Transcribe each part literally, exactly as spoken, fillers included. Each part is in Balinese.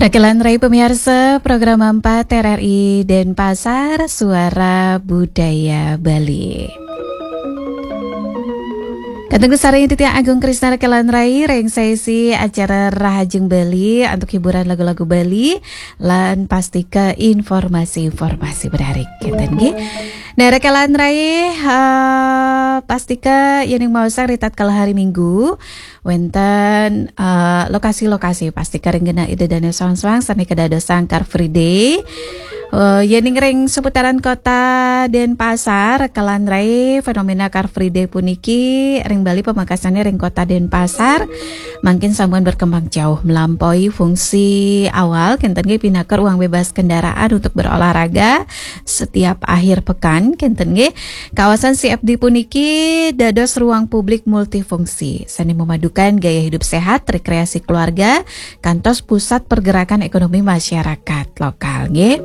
Rekelan Rai pemirsa, program empat R R I Denpasar, Suara Budaya Bali. Katengku sareng Titiang Agung Krisna Rekelan Rai, ring sesi acara Rahajeng Bali antuk hiburan lagu-lagu Bali, lan pastika informasi-informasi menarik. Kenten nggih. Nah, Rekelan Rai, eh, pastika yening maosang ritatkala hari Minggu, wenten, eh, lokasi-lokasi pastika ring genah Ida Dane Soang-Soang sane kadadosang Car Free Day. Eh, yening ring seputaran kota Denpasar, Rekelan Rai, fenomena Car Free Day puniki ring Bali pamekasane ring kota Denpasar, mangkin sampun berkembang jauh melampaui fungsi awal, kenten nggih pinaka ruang bebas kendaraan untuk berolahraga setiap akhir pekan, kenten nggih. Kawasan C F D puniki dados ruang publik multifungsi, sane memadukan gaya hidup sehat, rekreasi keluarga, kantos pusat pergerakan ekonomi masyarakat lokal, nggih.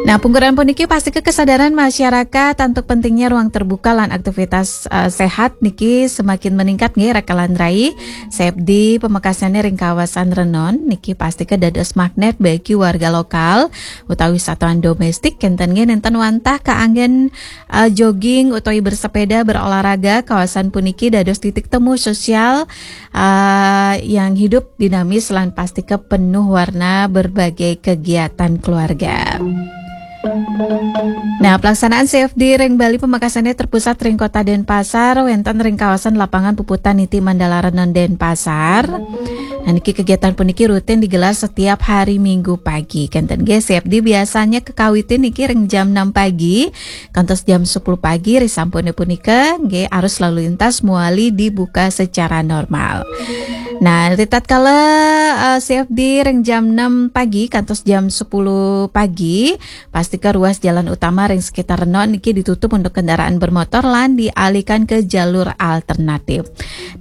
Nah, pungkuran puniki pastika kesadaran masyarakat antuk pentingnya ruang terbuka lan aktivitas, eh, sehat niki semakin meningkat, nggih, Rekelan Rai. C F D pamekasane ring kawasan Renon niki pastika dados magnet bagi warga lokal utawi wisatawan domestik, kenten nggih, nenten wantah kaanggen, eh, jogging utawi bersepeda, berolahraga. Kawasan puniki dados titik temu sosial, eh, yang hidup, dinamis, lan pastika penuh warna berbagai kegiatan keluarga. Nah, pelaksanaan C F D ring Bali pamekasane terpusat ring Kota Denpasar, wenten ring kawasan Lapangan Puputan Niti Mandala Renon, Denpasar. Nah, niki kegiatan puniki rutin digelar setiap hari Minggu pagi. Kenten nggih, C F D biasanya kekawitin niki ring jam enam pagi kantos jam sepuluh pagi, risampune punika nggih arus lalu lintas muali dibuka secara normal. Nah, ritatkala, eh, C F D ring jam enam pagi kantos jam sepuluh pagi, pastika ruas jalan utama ring sekitar Renon niki ditutup untuk kendaraan bermotor lan dialihkan ke jalur alternatif.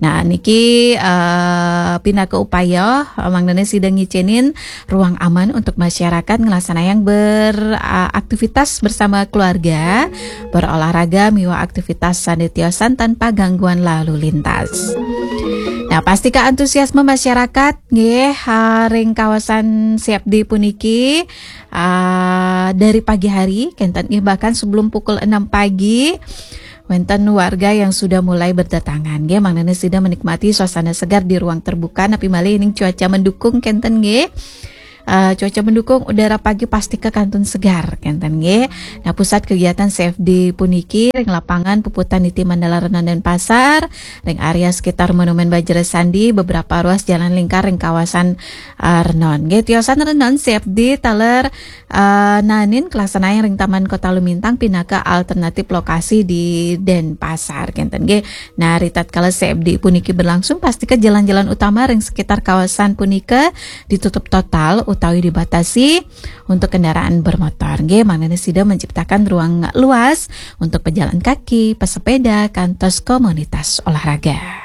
Nah, niki, eh, pinaka upaya, eh, mangdane sida ngicenin ruang aman untuk masyarakat nglaksanayang ber-, eh, aktivitas bersama keluarga, berolahraga miwah aktivitas sane tiosan tanpa gangguan lalu lintas. Nah, pastika antusiasme masyarakat nggih, eh, ring kawasan C F D puniki, eh, dari pagi hari, kenten nggih, bahkan sebelum pukul enam pagi, wenten warga yang sudah mulai berdatangan, nggih, mangdane sida menikmati suasana segar di ruang terbuka, napi malih ning cuaca mendukung, kenten nggih. Eh, cuaca mendukung, udara pagi pastika kantun segar, kenten nggih. Nah, pusat kegiatan C F D puniki ring Lapangan Puputan Niti Mandala Renon, Denpasar, ring area sekitar Monumen Bajrasandi, beberapa ruas jalan lingkar ring kawasan, eh, Renon. Nggih, tiosan Renon, C F D taler, eh, naenin kalaksanayang ring Taman Kota Lumintang pinaka alternatif lokasi di Denpasar, kenten nggih. Nah, ritatkala C F D puniki berlangsung, pastika jalan-jalan utama ring sekitar kawasan punika ditutup total utawi dibatasi untuk kendaraan bermotor. Nggih, mangdane sida menciptakan ruang luas untuk pejalan kaki, pesepeda, kantos komunitas olahraga.